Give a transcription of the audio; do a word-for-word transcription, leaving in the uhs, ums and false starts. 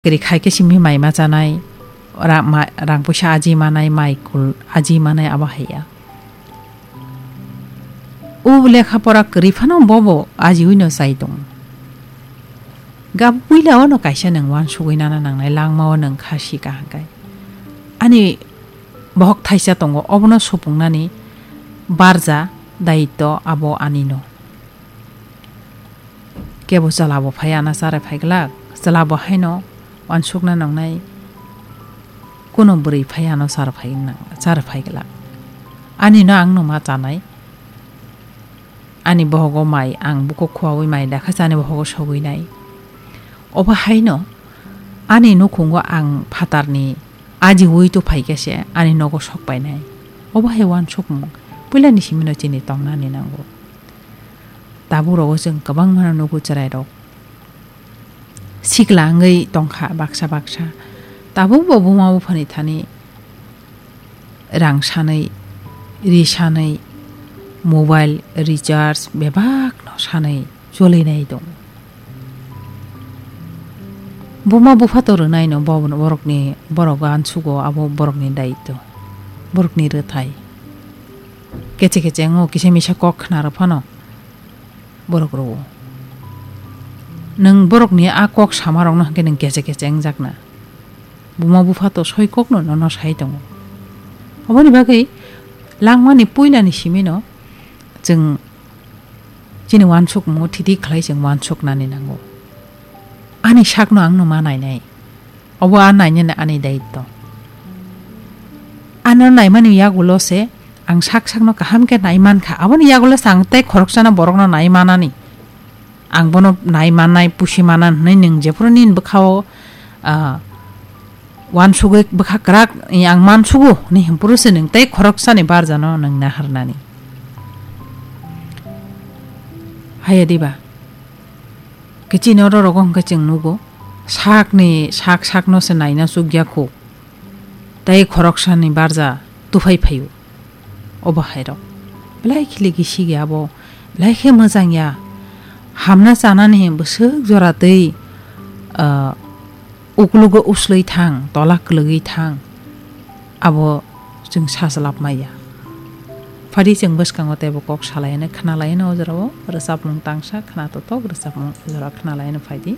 Kwrwi khai khe simi mai ma chanai, ra-, ma-, rang puisa aji manai, mai kul aji manai abo hai ya. O lekha pora kwrwi phano bobo ajiui no chai tongo. Gab puila o no kaisa nwng uansugui nana nangnai langma o nwng kha si kaham kai. Ani bohok thaisa tongo, obono supungnani barja daitto abo ani no. Kebo chwla bo phai ano chara phai glak, chwla bo haino uansukna nangnai, kuno bwrwi phai ano chara phai nang-, chara phai glak. Ani no ang no ma chanai, ani bohogo mai ang buko khuaui mai dakha chani bohogo sogwi nai. Obo haino ani nukhungo ang phatarni ajiui to phai khe se ani nogo sok painai. Obo hai uansukmung puilani simino chini tongnani nango. Tabuk rogo chwng kwbangma no nugo chwrairok sikla wngwi tongkha baksa baksa. Tabuk bo buma buphani thani rang sanwi, ri sanwi, mobile recharge bebak no sanwi cholinai tongo. Buma bupha to rwnai no bo borokni, borok uansugo, abo borokni daitto, borokni rwthai. Keche keche wngo, kisa misa kok khna rw phano borok rwo. Nwng borokni a kok sama rokno hwnkhe nwng keche keche wngjakna. Buma bupha to soi kokno nono sai tongo. Oboni bagwi langmani puilani simino chwng chini uansukmung thidi khlai chwng uansuknani nango. Ani sakno ang no ma nainai. Obo a nainani ani daitto. Ano naimani yagulo se ang sak sakno kaham khe nai mankha. Aboni yagulo se ang tei khoroksano borokno nai manani. Ang bono nai mannai, pusi manan hwnwi nwng jephuru nini bwkhao, ah, uansugwi bwkha kwrak, "Ang mansugo," hwnwi hwnphuru se nwng tei khoroksani barjano nwng naharnani. Haya diba? Kichino rorogo hwnkhe chwng nugo, sakni sak sakno se naina chukya kho. Tei khoroksani barja tuphai phaio. Obo hairok belai khiligi sigi abo, belai khe mwchang ya. Hamna chanani bwswk jora tei, ah, uklugo uslwi thang, tola kwlwgwi thang, abo chwng sachlap maya. Phadi chwng bwskango teibo kok salaino, khna laino o jorao rwchapmung tangsa khna totok rwchapmung o jorao khna laino phaidi.